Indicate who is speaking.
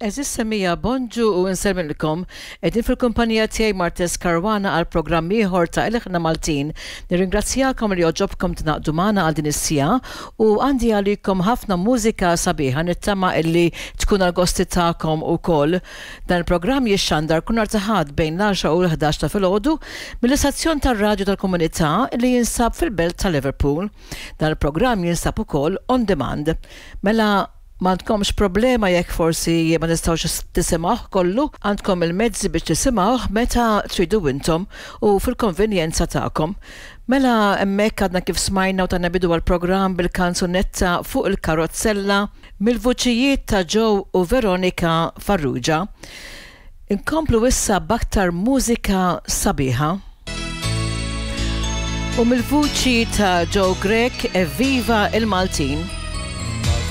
Speaker 1: Għeżież semmiegħa, bonġu u nsellmilkom. Qegħdin fil-kumpanija tiegħi Martez Caruana għal programm ieħor ta' Ilħna Maltin. Nirringrazzjakom li għoġobkom tingħaqdu magħna għal din is-siegħa u għandi għalikom ħafna mużika sabiħa nittama illi tkun għall-gosti tagħkom ukoll. Dan il-programm jixxandar kull nhar ta' Ħadd bejn l-għaxra u l-ħdax ta' filgħodu mill-istazzjon tar-radju tal-komunità li jinsab fil-belt ta' Liverpool. Dan il-programm jinsab ukoll on demand. Mela M'għandkomx problema jekk forsi ma tistgħux tisimgħuh kollu, għandkom il-mezzi biex tisimgħuh meta tridu intom u fil-konvenjenza tagħkom. Mela hemmhekk għadna kif smajna u tajna bidu għall-programm bil-kanzunetta Fuq il-karozzella mill-vuċijiet ta' Joe u Veronica Farrugia. Inkomplu issa b'aktar mużika sabiħa. U mill-vuċi ta' Joe Grech Evviva il-Maltin!